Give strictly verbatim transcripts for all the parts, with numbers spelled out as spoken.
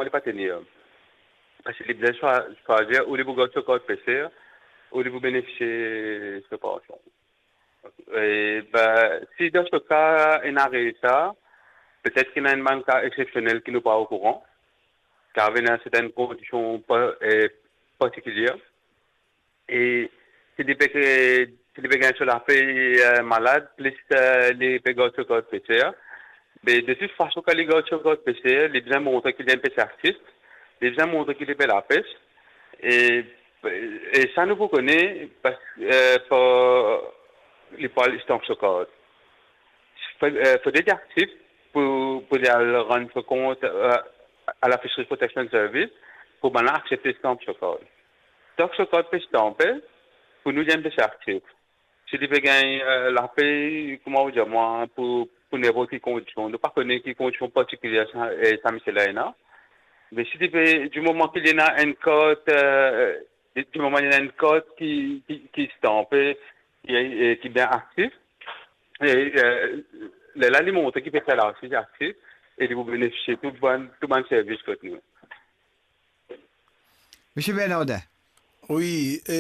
li pa tenir. Parski li bizin swa-, swazir ou li pou gard so kart peser, ou li pou benefisie so pansion. E, be, si dan so ka ena resa, petet ki ena enn bann ka exsepsionel ki nou pa okouran, ki ena sertin kondision pa-, e, partikilie. E si li pe, si li pe gagn so lapey, e, malad, plis, e, li pe gard so kart peser, be, de tout fason, kan li gard so kart peser, li bizin montre ki li enn peser aktif, li bizin montre ki li pe lapes. E, e sa nou pou kone, pas-, e, par li pou al estamp so kart. Fo-, e, fode li aktif pou, pou li al rann so kont, e, a la Fisheries Protection Service, pou bann la aksepte estamp so kart. Tank so kart pe estanpe, pou nou, li enn peser aktif. Si li pe gagn, e, lapey, kouma ou dir mwa, pou, pou ninport ki kondision, nou pa kone ki kondision partikilie sa, e, sa misie la ena. Me si li pe, di moman ki li ena enn kart, e, di moman li ena enn kart ki, ki, ki estanpe, ki, e, ki bien aktif, e, e, lerla li montre ki peser la osi aktif, e li pou benefisie tou bann, tou bann servis kot nou. Misie Bernardin. Wi, e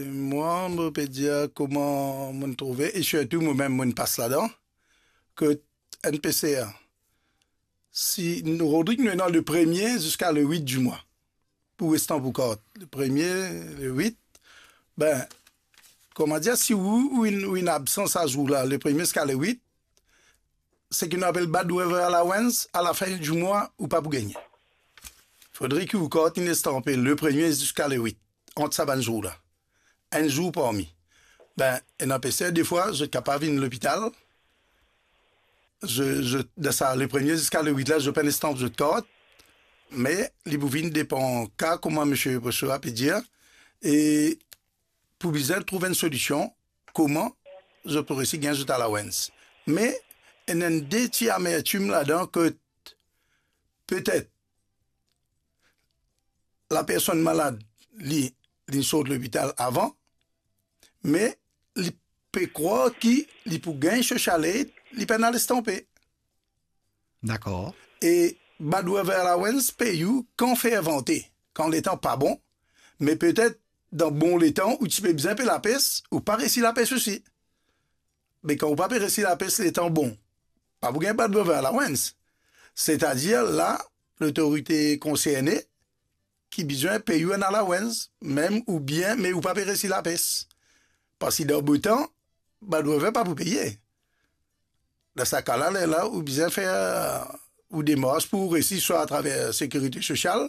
mwa, mo pe dir kouma mo trouve, e sirtou mo mem mo pas ladan, ki enn peser, si nou, Rodrig, nou ena le premie ziska le wit di mwa pou estamp ou kart. Le premie, le wit, be, kouma dir, si ou, ou inn, ou inn absan sa zour la, le premie ziska le wit, seki nou apel bad weather allowance, a lafin di mwa, ou pa pou gagne. Fodre ki ou kart inn estanpe le premie ziska le wit, ant sa bann zour la. Enn zour parmi. Be, enn peser, defwa, zot kapav vinn lopital, zot, zot, dan sa, le premie ziska le wit la, zot pa'nn estamp zot kart, me li pou vinn depan ka, kouma misie Bossoa pe dir, e pou bizin trouv enn solision, kouma zot pou resi gagn zot allowance. Me ena enn de ti amertim ladan, ki petet lapersonn malad, li, li sort lopital avan, me li pe krwar ki li pou gagn social aid, li pa'nn al estanpe. Dakor. E bad weather allowance pey ou kan fer vante, kan letan pa bon, me petet dan bon letan ou ti pe bizin pe lapes, ou pa resi lapes osi. Me kan ou pa pe resi lapes letan bon, pa pou gagn bad weather allowance. Setadir la, lotorite konserne ki bizin pey ou enn allowance, mem oubien, me ou pa pe resi lapes. Parski dan botan, bad weather pa pou peye. Dan sa ka la, lerla, ou bizin fer ou demars pou resi swa atraver Sekirite Sosial,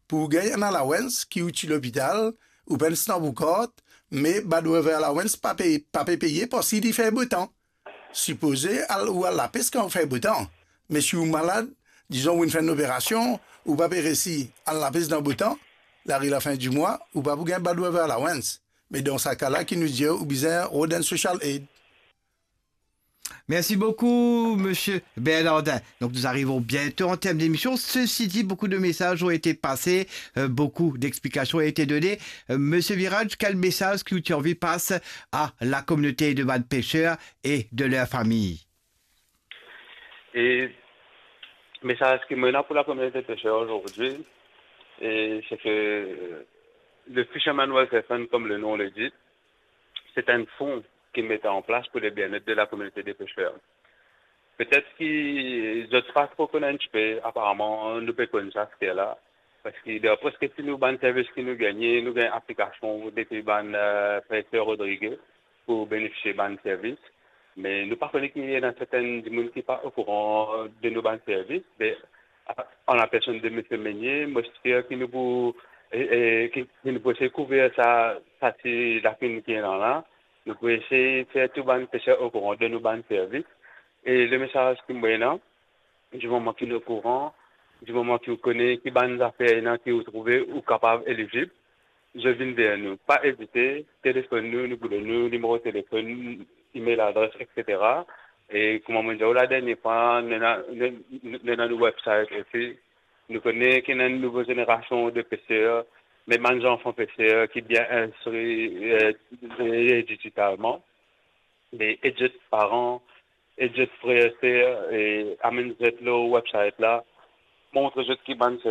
pou gagn enn allowance ki ou ti lopital, ou pa'nn estamp ou kart, me bad weather allowance pa pe, pa pe peye parski li fer botan. Sipoze al, ou al lapes kan fer botan. Me si ou malad, dizon ou inn fer enn operasion, ou pa pe resi al lapes dan botan, lari lafin di mwa, ou pa pou gagn bad weather allowance. Me dan sa ka la ki nou dir ou bizin rod enn social aid. Merci beaucoup, Monsieur Bernardin. Donc, nous arrivons bientôt en termes d'émission. Ceci dit, beaucoup de messages ont été passés, euh, beaucoup d'explications ont été données. Euh, Monsieur Virage, quel message que tu as envie de passer à la communauté de bann pêcheurs et de leur famille? E mesaz ki mo ena pou lakominote peser azordi, e, se ke, e, le Fisherman Welfare Fund, comme le nom le dit, c'est un fonds qui met en place pour le bien-être de la communauté des pêcheurs. Petet ki zot pa tro konn enn tipe, aparaman nou pe konn sa, se la. Parski dan preske tou nou bann servis ki nou gagne, nou gagn aplikasion depi bann, e, peser Rodrig pou benefisie bann servis. Me nou pa kone ki ena sertin dimoun ki pa okouran de nou bann servis. Me, a, an lapersonn de Misie Meunier, mo espere ki nou pou, e, e, ki, ki nou pou esey kouver sa, sa ti lakin ki ena la. Nou pou esey fer tou bann peser okouran de nou bann servis. E le mesaz ki mo ena, di moman ki nou okouran, di moman ki ou kone ki bann zafer ena ki ou trouve ou kapav elizib, zot vinn ver nou. Pa ezite, telefonn nou, nou pou donn nou nimero telefonn, email adres, et cetera. E kouma mo dir ou ladernie fwa, nou ena, nou, nou, nou ena nou website osi. Nou kone ki ena enn nouvo zenerasion de peser, me bann zanfan peser ki bien instri, e, e, digitalman. Me ed zot paran, ed zot frer, ser, e amenn zot lor website la, montre zot ki bann